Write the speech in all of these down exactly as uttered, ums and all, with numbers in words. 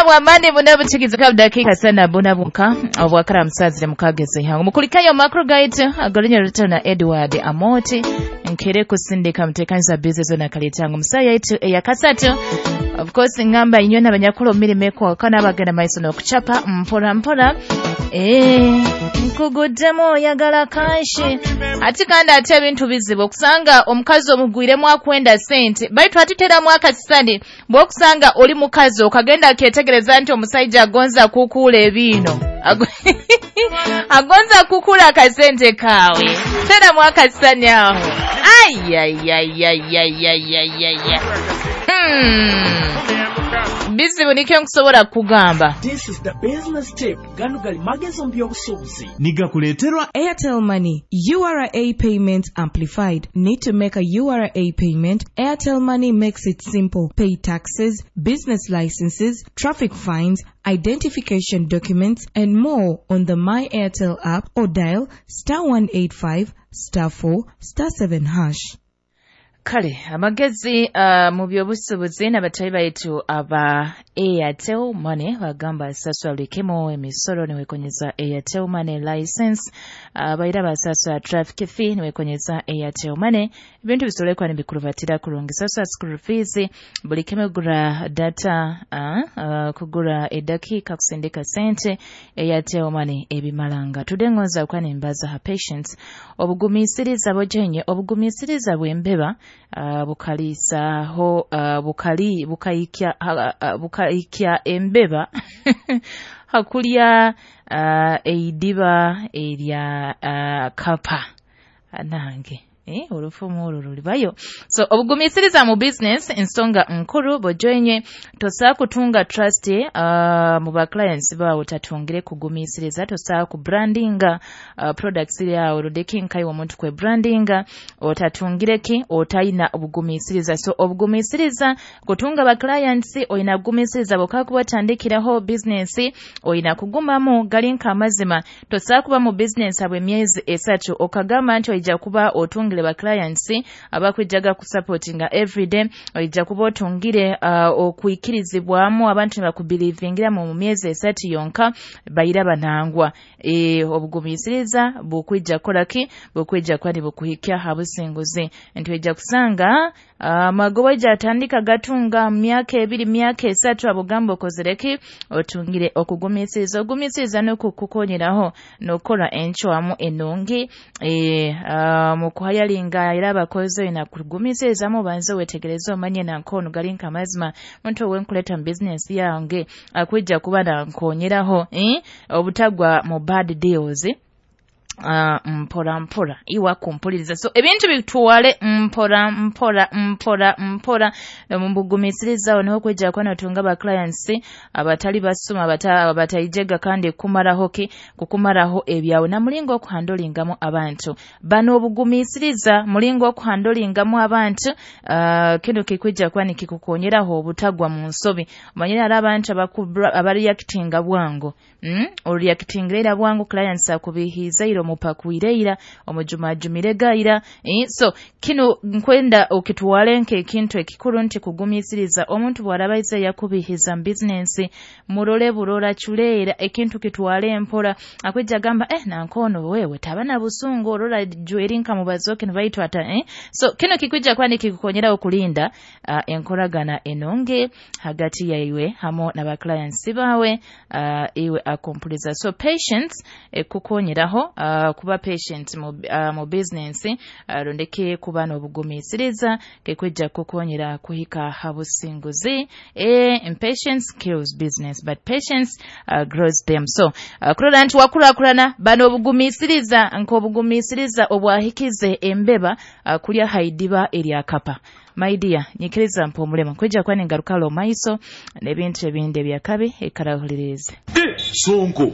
Bwamani buna buchigiza dakika sana buna bunka obwakara musazire mukageze hangu mukulikayo makro guide agolinya rutana Edward Amoti nkere kusindika mtekanza business na kalitango musaya yetu eyakasatu. Of course ngamba inywe n'abanyakulu mirime ko kana bagenda maiso no kuchapa mpora mpora eh nkugudemo oyagala kanshi ati kandi ate ebintu bizibu okusanga omukazi omugwiremu akwenda sente baitu atiteramu akasisani bw'okusanga oli mukazi okagenda aketegereza nti omusajja agonza kukuula ebiino agonza kukuula akasente kaawe teramu akasisani aho ayayayayayayayaya hmm. Bizibu nikyo nkusobola kugamba. This is the business tip. Gano gali magezo by'obusuubuzi. Nigakuleeterwa Airtel Money. U R A payment amplified. Need to make a U R A payment? Airtel Money makes it simple. Pay taxes, business licenses, traffic fines, identification documents, and more on the My Airtel app or dial star one eight five star four star seven hash. Kale amagezi uh, mu by'obusuubuzi n'abatayi baitu aba Airtel Money bagamba sasula bulikemo emisolo niwekonyeza Airtel Money license uh, baira basasula traffic fee niwekonyeza Airtel Money ebintu bisolekwa nibikurubatira kurungi sasula school fees bulikemo gura data uh, uh, kugura edakika kusindika sente Airtel Money ebimalanga tudengoza kwa nimbaza ha patience obugumisiriza bojenye obugumisiriza bwembeba Uh, bukalisaho uh, bukali bukayikya uh, bukayikya embeba hakulya uh, eidiba erya uh, kapa nange eh olufumu olwo lulibayo. So obugumisiriza mu business ensonga nkuru bojoenye tosa kutunga trust uh, mu ba clients bawo tatungire kugumisiriza tosa ku brandinga uh, products yawo rudeki nkai omuntu kwe brandinga otatungire ki otayina obugumisiriza. So obugumisiriza kutunga ba clients oyina kugumisiriza bokakuba tandikiraho business oyina kugumamu galinka amazima tosa kuba mu business abwe myezi esatu okagamba nti oija kuba otunga ba clients abakwijaga ku supportinga everyday oija kuba otungire uh, okuikirizibwamu abantu bakubelievingira mu myezi esatu yonka bayira banangwa e, obugumisiriza bukwija kolaki bukwija kwani bukuhikya habusinguzi nti kusanga amagoba uh, jatandika gatunga myaka ebiri myaka esatu abugamba okozereki otungire okugumisiriza ogumisiriza n'okukukonyeraho n'okola enchwamu enungi e, uh, mu kuhayalinga era abakozi na kugumisiriza mu banze wetegereze omanye na nkono galinka amazima muntu owenkuleta mu business yange akwijja kuba na nkonyeraho eh? Obutagwa mu bad deals Uh, mpora mpora iwa kumpuliriza. So ebintu bituwale mpora mpora mpora mpora mumbugumisiriza niho kwijja kwa natunga ba clients abatali basuma abatayijega kandi kumaraho ki kukumaraho ebyawe na mulingo okuhandlingamu abantu bano obugumisiriza mulingo okuhandlingamu abantu uh, kino kikwijja kwa nikikukonyeraho obutagwa mu nsobi omanyira ari abantu abareactinga bwangu mm? Oreactinga bwangu clients akubihiza iro mupakuireira omujumajumire gaira eh? So kino nkwenda okitwale nke ekintu ekikuru nti kugumisiriza omuntu bw'arabaiza yakubihiza business murole burora chuleera ekintu kitwale mpora akwijja gamba eh nankono wewe tabana busungu orora jwerinka mubazoke nbaitwa ata eh? So kino kikwijja kwani kikukonyera okulinda uh, enkoragana enonge hagati yaiwe hamo na ba clients bawe uh, iwe akompuliza. So patience ekukonyeraho uh, Uh, kuba patient mu, uh, mu business uh, rondeke kuba n'obugumisiriza kekwijja kukonyera kuhika habusinguzi. E, impatience kills business but patience uh, grows them. So uh, kurola nti wakulakulana bano obugumisiriza nk'obugumisiriza obwahikize embeba uh, kulya haidiba eryakapa. My dear, nyikiriza mpumulema kwijja kwani ngarukalo maiso n'ebintu ebindi ebyakabi ekarahulirize. Eh, sonko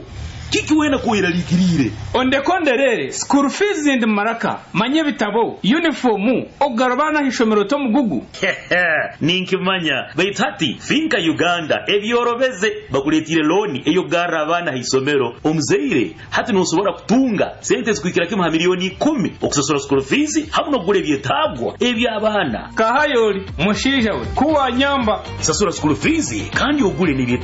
kiki wena kuiralikirire ondekonderere school fees ndi maraka manye bitabo uniform ogarabana hishomero to mugugu ninkimanya baitati finka Uganda ebyorobeze bakuletire loni eyo gara abana hisomero omuzeire hati nosobora kutunga sente zikuikira kimu ha milioni kumi okusasura school fees hamwe nokugura ebyetagwa eby'abaana kahayoli mushinja we kuwa nyamba sasura school fees kandi ogule n'ebyetagwa.